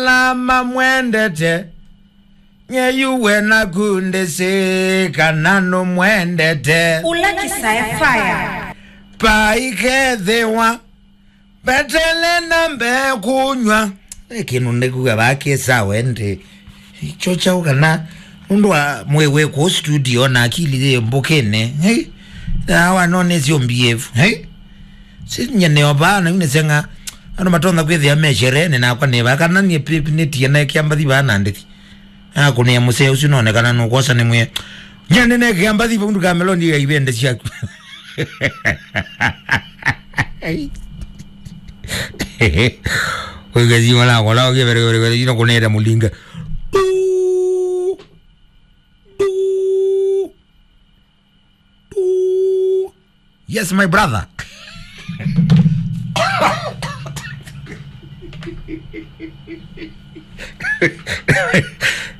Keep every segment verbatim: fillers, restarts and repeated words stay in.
Ala mamwendete, nye yu we naku ndĩsĩ kana nũmwendete. Ũla Kĩsae Fire. Paikethĩwa mbetele na mbee kũnyw'a. Ĩ kĩndũ ndĩkuga vaa kĩ sawa ĩndĩ. Kyo kyaũ kana nũndũ wa mwĩĩ wĩ kũu studio na akili yĩ mbũkĩnĩ. Hei. Na wanonĩsyo mbievu. Hei. Si nye nĩo vaa na yu nĩseng'a. Andũ matonya kwĩthĩa me sherehe nakwa nĩ vaa kana niĩ pip nĩtie na kĩambathi vaa na ndĩthi. Akũnĩa mũsee ũsu nonekana nũkwosa nĩ mwĩe. Nye nĩnekĩa mbathi vau ndukameloni ya ivende syaku. Ũikasima nakola ũkĩvereverevereina kũnĩte mũlinga. Du, du, du. Yes, my brother.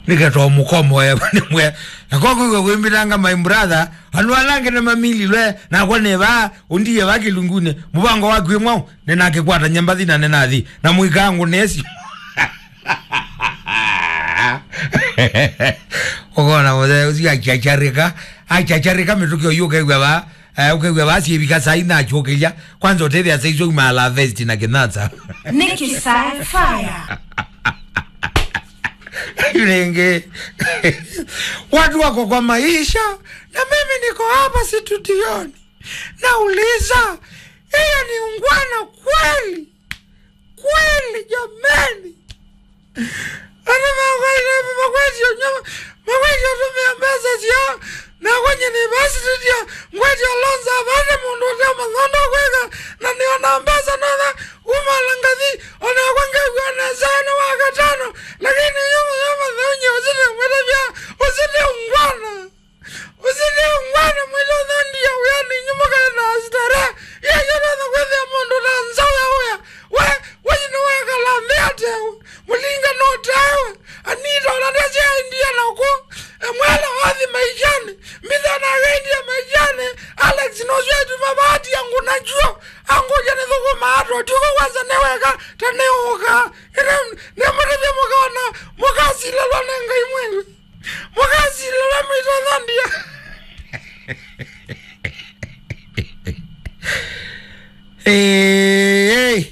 Nĩketwa mũkomo ewa nĩmwe. Nakwa kwĩw'a kwĩmbĩtanga my brother. Andũ ala angĩ nĩmamililwe nakwa nĩ vaa ũndie vaa kĩlungunĩ. Mũvango waku ĩmwau nĩnakĩkwata nyambathi na nĩnathi na mũikangũ nesi. Ũkona mũthee ũcio achacharĩka, achacharĩka mĩtũkĩ ũyu ũkew'a vaa. Eh, ũkew'a vaa syĩvika saa ina akyũkĩlya. Kwanza ũtethĩa saa isu aumala vesti na kĩnasa. Nĩ Kĩsae Fire. Rĩngĩ. Watu wako kwa maisha na mimi niko hapa studioni. Nauliza, hiyo ni ungwana kweli? Kweli jameni. Andũ makwaĩle makwĩtye ũnyama, makwĩtye ũtũmĩa mbesa syoo. Nakwa nyie nĩvasitĩtye ngwetye loans avate mũndũ ũte mathondo kwĩka, na nĩona mbesa nothe kumala ngathi. Onakwa ngew'a nesa nĩ wa katano, lakini yu mũyo matheunye ũsite mwĩtavya, ũsite ungwana. Ũsili ngwana mwĩtũthondia wĩanĩ inyuĩ mũkaenda starehe. Yeye ndonya kwĩthĩa mũndũ na nzaũ ya wĩa. We, we nĩwekala nthĩ atewe. Mũlinga nũtewe. Anita ũla ndesyaendie nakũ. Emwela wathi maishanĩ. Mitha na agendie maishanĩ. Alex nũsyaituma vaati ya ngũna chuo. Angũja nĩthũkũma atwa. Tuko kwanza nĩweka. Ta nĩũka. Ĩrĩ nĩmũtethye mũkaona. Mũkasilelwa nĩ Ngai mwĩlĩ. Mũkasilĩla mwĩtũthondia. Hey, hey.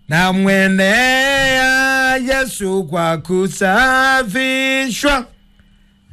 Na mwenea Yesu kwa kusafishwa.